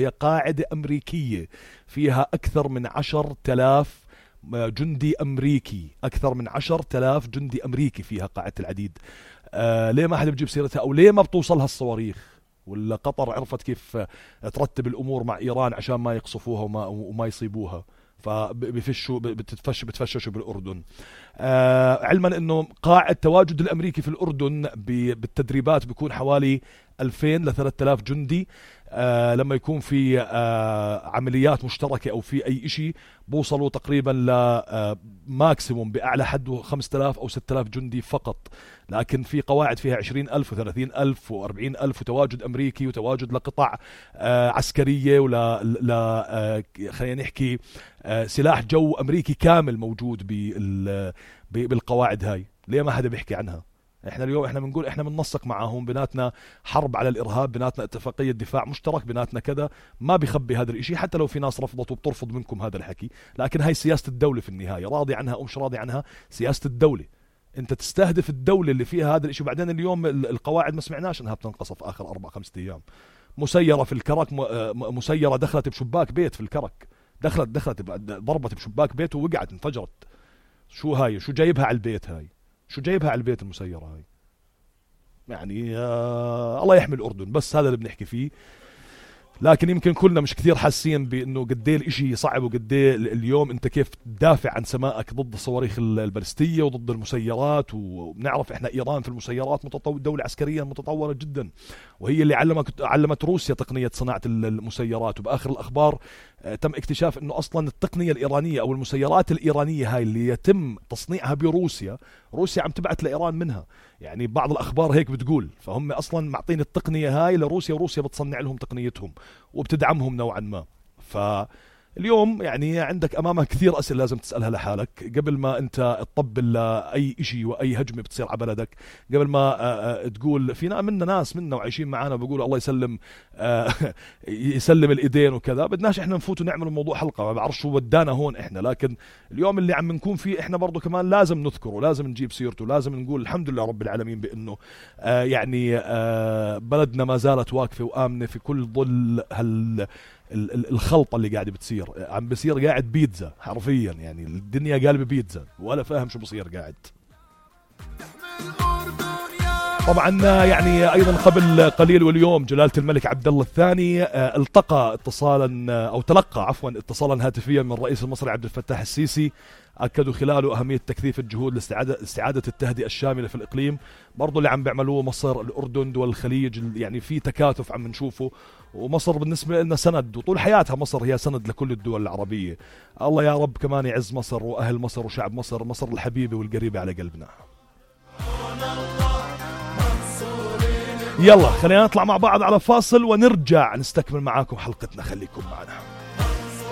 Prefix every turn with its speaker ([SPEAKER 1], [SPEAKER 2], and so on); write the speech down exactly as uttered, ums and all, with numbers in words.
[SPEAKER 1] هي قاعدة أمريكية فيها أكثر من عشر تلاف جندي أمريكي، أكثر من عشر تلاف جندي أمريكي فيها قاعدة العديد. آه ليه ما حدا بجيب سيرتها؟ أو ليه ما بتوصلها الصواريخ؟ ولا قطر عرفت كيف ترتب الأمور مع إيران عشان ما يقصفوها وما, وما يصيبوها، فبفشوا بتتفش بتفششوا بالأردن. آه علما أنه قاعد التواجد الأمريكي في الأردن بالتدريبات بيكون حوالي ألفين لثلاثة آلاف جندي. آه لما يكون في آه عمليات مشتركة أو في أي إشي بوصلوا تقريبا لماكسيموم بأعلى حد خمسة آلاف أو ستة آلاف جندي فقط. لكن في قواعد فيها عشرين ألف وثلاثين ألف وأربعين ألف، وتواجد أمريكي وتواجد لقطع آه عسكرية ولا لا آه خلينا نحكي آه سلاح جو أمريكي كامل موجود بالقواعد هاي. ليه ما حدا بيحكي عنها؟ احنا اليوم احنا بنقول احنا بننسق معاهم، بيناتنا حرب على الارهاب، بيناتنا اتفاقيه دفاع مشترك، بيناتنا كذا. ما بيخبي هذا الاشي، حتى لو في ناس رفضت وبترفض منكم هذا الحكي، لكن هاي سياسه الدوله في النهايه، راضي عنها او مش راضي عنها سياسه الدوله. انت تستهدف الدوله اللي فيها هذا الاشي. وبعدين اليوم القواعد ما سمعناش انها بتنقصف اخر اربع خمسة ايام. مسيره في الكرك، مسيره دخلت بشباك بيت في الكرك، دخلت دخلت ضربت بشباك بيت ووقعت انفجرت. شو هاي؟ شو جايبها على البيت هاي؟ شو جايبها على البيت المسيره هاي؟ يعني آه الله يحمي الأردن، بس هذا اللي بنحكي فيه. لكن يمكن كلنا مش كثير حاسين بأنه قديه الاشي صعب، وقديه اليوم انت كيف تدافع عن سمائك ضد الصواريخ البالستية وضد المسيرات. وبنعرف احنا ايران في المسيرات متطور، دولة عسكريا متطورة جدا، وهي اللي علمت علمت روسيا تقنية صناعة المسيرات. وبآخر الأخبار تم اكتشاف انه اصلا التقنية الإيرانية او المسيرات الإيرانية هاي اللي يتم تصنيعها بروسيا، روسيا عم تبعت لإيران منها. يعني بعض الأخبار هيك بتقول، فهم أصلا معطين التقنية هاي لروسيا، وروسيا بتصنع لهم تقنيتهم وبتدعمهم نوعا ما. فاليوم يعني عندك أمامك كثير أسئلة لازم تسألها لحالك قبل ما أنت تطبل لأي إشي وأي هجمة بتصير على بلدك، قبل ما تقول. فينا منا ناس منا وعايشين معانا بيقولوا الله يسلم يسلم الإيدين وكذا. بدناش إحنا نفوت ونعمل الموضوع حلقة، ما بعرف شو ودانا هون إحنا. لكن اليوم اللي عم نكون فيه إحنا برضو كمان لازم نذكره، لازم نجيب سيرته، لازم نقول الحمد لله رب العالمين بأنه آه يعني آه بلدنا ما زالت واقفة وآمنة في كل ظل هال الخلطة اللي قاعدة بتصير. عم بصير قاعد بيتزا حرفيا، يعني الدنيا قالبة بيتزا ولا فاهم شو بصير قاعد. طبعا يعني ايضا قبل قليل واليوم جلالة الملك عبد الله الثاني التقى اتصالا او تلقى عفوا اتصالا هاتفيا من الرئيس المصري عبد الفتاح السيسي، اكدوا خلاله اهميه تكثيف الجهود لاستعاده استعاده التهدئه الشامله في الاقليم. برضو اللي عم بيعملوه مصر، الاردن، دول الخليج، يعني في تكاتف عم نشوفه. ومصر بالنسبه لنا سند، وطول حياتها مصر هي سند لكل الدول العربيه. الله يا رب كمان يعز مصر واهل مصر وشعب مصر، مصر الحبيبه والقريبه على قلبنا. يلا خلينا نطلع مع بعض على فاصل ونرجع نستكمل معاكم حلقتنا، خليكم معنا.